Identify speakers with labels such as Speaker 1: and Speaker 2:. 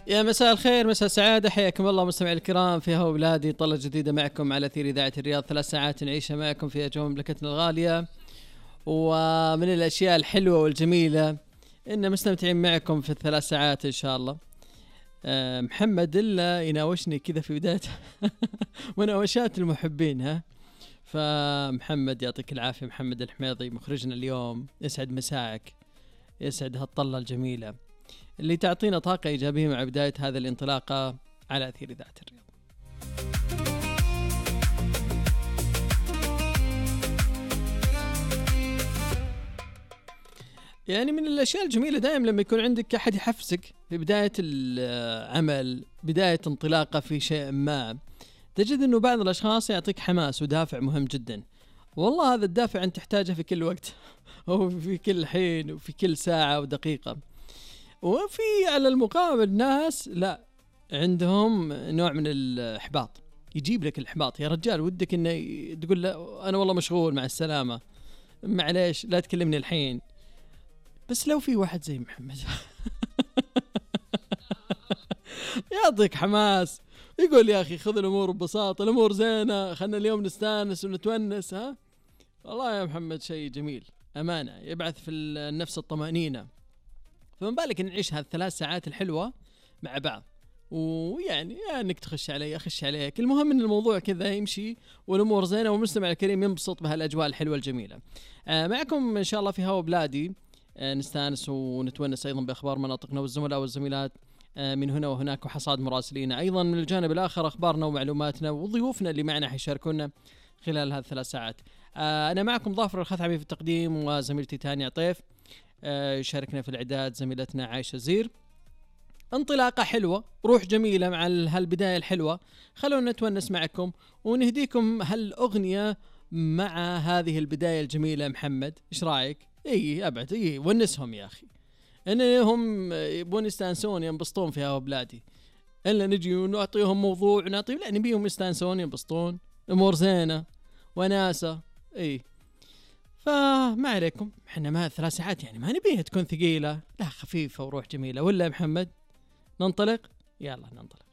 Speaker 1: يا مساء الخير، مساء السعادة، حياكم الله مستمعي الكرام في هوا بلادي. طلة جديدة معكم على أثير إذاعة الرياض، 3 ساعات نعيشها معكم في أجواء مملكتنا الغالية. ومن الأشياء الحلوة والجميلة إن مستمتعين معكم في ال3 ساعات إن شاء الله. محمد إلا يناوشني كذا في بداية مناوشات المحبين. فمحمد يعطيك العافية، محمد الحميضي مخرجنا اليوم، يسعد مساعك، يسعد هالطلة الجميلة اللي تعطينا طاقة إيجابية مع بداية هذا الانطلاقة على أثير إذاعة الرياض. يعني من الأشياء الجميلة دائما لما يكون عندك أحد يحفزك في بداية العمل، بداية انطلاقة في شيء ما، تجد أنه بعض الأشخاص يعطيك حماس ودافع مهم جدا. والله هذا الدافع أنت تحتاجه في كل وقت أو في كل حين وفي كل ساعة ودقيقة. وفي على المقابل ناس لا، عندهم نوع من الإحباط، يجيب لك الإحباط. يا رجال ودك إنه تقول له أنا والله مشغول، مع السلامة، معليش لا تكلمني الحين. بس لو في واحد زي محمد يعطيك حماس، يقول يا أخي خذ الأمور ببساطة، الأمور زينة، خلنا اليوم نستانس ونتونس. والله يا محمد شيء جميل أمانة، يبعث في النفس الطمأنينة. فمن بالك نعيش هال3 ساعات الحلوة مع بعض، ويعني انك تخش علي اخش عليك، المهم ان الموضوع كذا يمشي والامور زينه والمستمع الكريم ينبسط بهالاجواء الحلوه الجميله. معكم ان شاء الله في هوا بلادي، نستانس ونتونس ايضا باخبار مناطقنا والزملاء والزميلات من هنا وهناك، وحصاد مراسلين ايضا من الجانب الاخر، اخبارنا ومعلوماتنا وضيوفنا اللي معنا حيشاركونا خلال هذه 3 ساعات. انا معكم ظافر الخثعمي في التقديم، وزميلتي تانيا عطيف يشاركنا في الإعداد زميلتنا عايشة زير. انطلاقة حلوة، روح جميلة مع هالبداية الحلوة. خلونا نتونس معكم ونهديكم هالأغنية مع هذه البداية الجميلة. محمد إيش رأيك؟ أبعد ونسهم يا أخي، إنهم يبون يستانسون ينبسطون في هوا بلادي، إلا نجي ونعطيهم موضوع ونعطيهم، لا نبيهم يستانسون ينبسطون، أمور زينة وناسة. فما عليكم، احنا ما 3 ساعات يعني ما نبيها تكون ثقيلة، لا خفيفة وروح جميلة. ولا يا محمد ننطلق؟ يلا ننطلق.